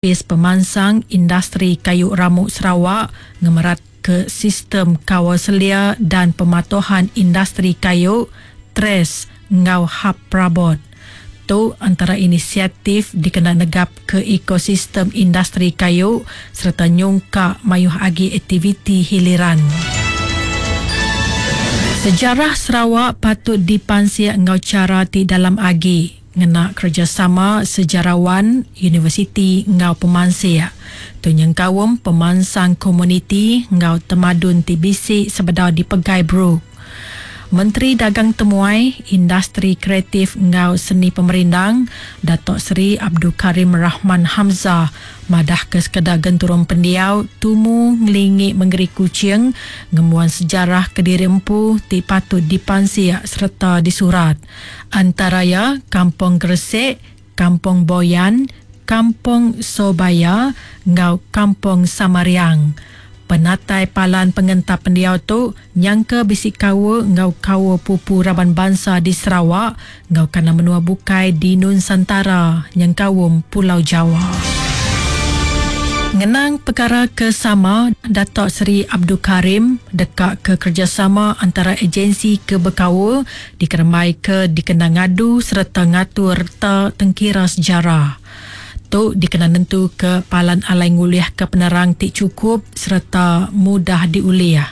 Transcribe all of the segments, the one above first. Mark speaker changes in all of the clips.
Speaker 1: Opis Pemansang Industri Kayu Ramu Sarawak ngemeratka Sistem Kawal Selia dan Pematuhan Industri Kayu, TRES, enggau Hab Perabot. Tu entara inisiatif dikena negapka ekosistem industri kayu sereta nyungkak mayuh agi aktiviti hiliran. Sejarah Sarawak patut dipansik enggau chara ti dalam agi. Ngena kerejasama sejarawan, universiti enggau pemansik. Tu nyengkaum pemansang komuniti enggau temadun ti bisi sebedau dipegai Brooke. Menteri Dagang Temuai, Industri Kreatif enggau Seni Pemerindang, Datuk Seri Abdul Karim Rahman Hamzah madahka sekeda genturung pendiau tumu ngelingi mengeri Kuching ngembuan sejarah kediri empu ti patut dipansik sereta disurat. Antara iya Kampung Gresik, Kampung Boyan, Kampung Sobaya enggau Kampung Samariang. Penatai palan pengentap pendiau tu nyangka bisi kaul enggau kaul pupu raban bansa di Sarawak enggau kandang menua bukai di Nunsantara nyengkaum Pulau Jawa. Ngenang pekara ke sama, Datuk Seri Abdul Karim deka ke kerejasama antara agensi ke bekaul dikerembaika dikena ngadu sereta ngatur reta tengkira sejarah. Tu dikena nentuka palan alai ngulihka penerang ti chukup sereta mudah diulih.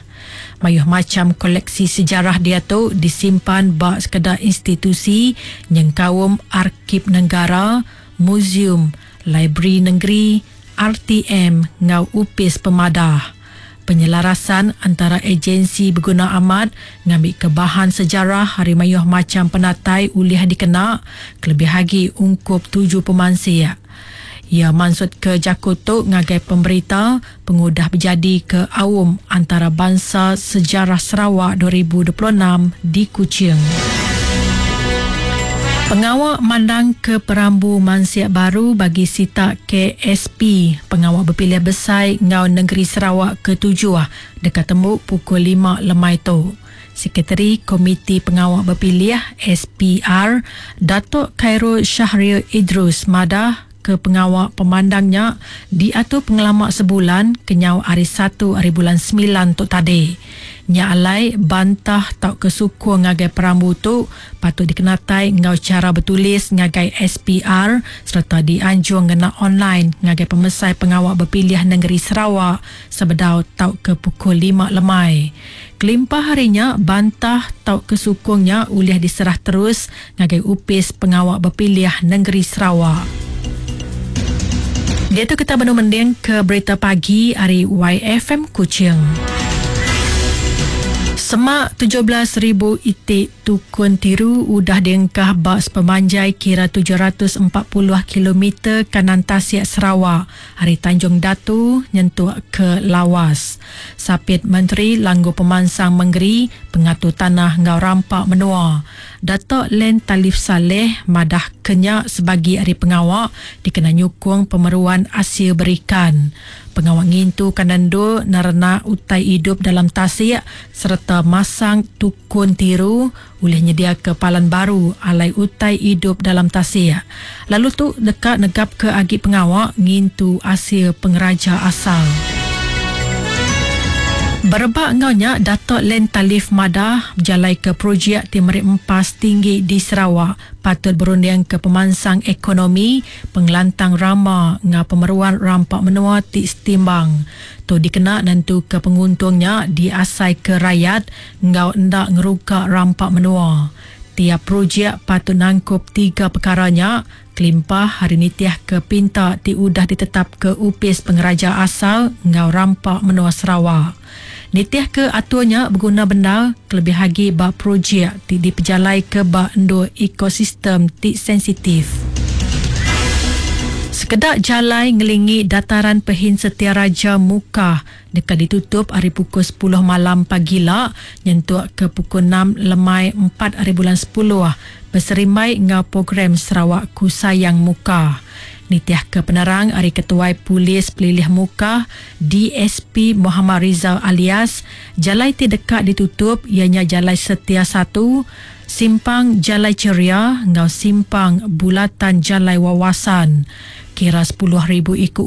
Speaker 1: Mayuh macham koleksi sejarah diatu disimpan ba sekeda institusi nyengkaum Arkib Negara, Muzium, Librari Nengeri, RTM enggau Opis Pemadah. Penyelarasan antara ejensi beguna amat ngambika bahan sejarah ari mayuh macham penatai ulih dikena kelebih agi ungkup tuju pemansik. Iya mansutka jaku tu ngagai pemberita pengudah bejadika Aum Antarabansa Sejarah Sarawak 2026 di Kuching. Pengawa mandangka perambu mansik baru bagi sitak KSP, Pengawa Bepilih Besai enggau Nengeri Sarawak ketujuh deka tembu pukul lima lemai tu. Sekretari Komiti Pengawa Bepilih, SPR, Datuk Khairul Shahril Idrus madah ke pengawa pemandang nya diatur pengelama sebulan kenyau ari satu ari bulan semilan tu tadi. Nya alai, bantah tauka sukung ngagai perambu tu patut dikenatai enggau chara betulis ngagai SPR sereta dianjung ngena online ngagai Pemesai Pengawa Bepilih Nengeri Sarawak sebedau tauka pukul lima lemai. Kelimpah ari nya, bantah tauka sukung nya ulih diserah terus ngagai Opis Pengawa Bepilih Nengeri Sarawak. Diatu kita benung mendingka berita pagi ari YFM Kuching. Semak 17,000 iti tukun tiru udah diengkah ba sepemanjai kira 740 kilometer kanan tasik Sarawak ari Tanjung Datu nyentuk ke Lawas. Sapit Menteri Langgur Pemansang Mengeri, Pengatur Tanah enggau Rampa Menua, Datuk Len Talif Salleh madah ke nya sebagi ari pengawa dikena nyukung pemeruan asil berikan. Pengawa ngintu kandang endur nerenak utai idup dalam tasik sereta masang tukun tiru ulih nyediaka palan baru alai utai idup dalam tasik. Lalu tu deka negapka agi pengawa ngintu asil pengeraja asal. Berebak enggau nya, Datuk Len Talif madah bejalaika projek ti meri empas tinggi di Sarawak patut berundingka pemansang ekonomi, pengelantang rama enggau pemeruan rampa menua ti setimbang. Tu dikena nentuka penguntung nya diasaika rayat enggau enda ngeruga rampa menua. Tiap projek patut nangkup tiga pekara nya kelimpah ari nitihka pinta ti udah ditetapka Opis Pengeraja Asal enggau Rampa Menua Sarawak. Nitihka atur nya beguna bendar kelebih agi ba projek ti dipejalaika ba endur ekosistem ti sensitif. Sekeda jalai ngelingi Dataran Pehin Setia Raja Mukah deka ditutup ari pukul sepuluh malam pagila nyentuk ke pukul enam lemai empat ari bulan sepuluh beserimbai enggau program Sarawakku Sayang Mukah. Nitihka penerang ari Ketuai Polis Pelilih Mukah, DSP Mohamad Rizal Alias, jalai ti deka ditutup iya nya Jalai Setia satu, Simpang Jalai Ceria enggau Simpang Bulatan Jalai Wawasan. Kira 10,000 iku.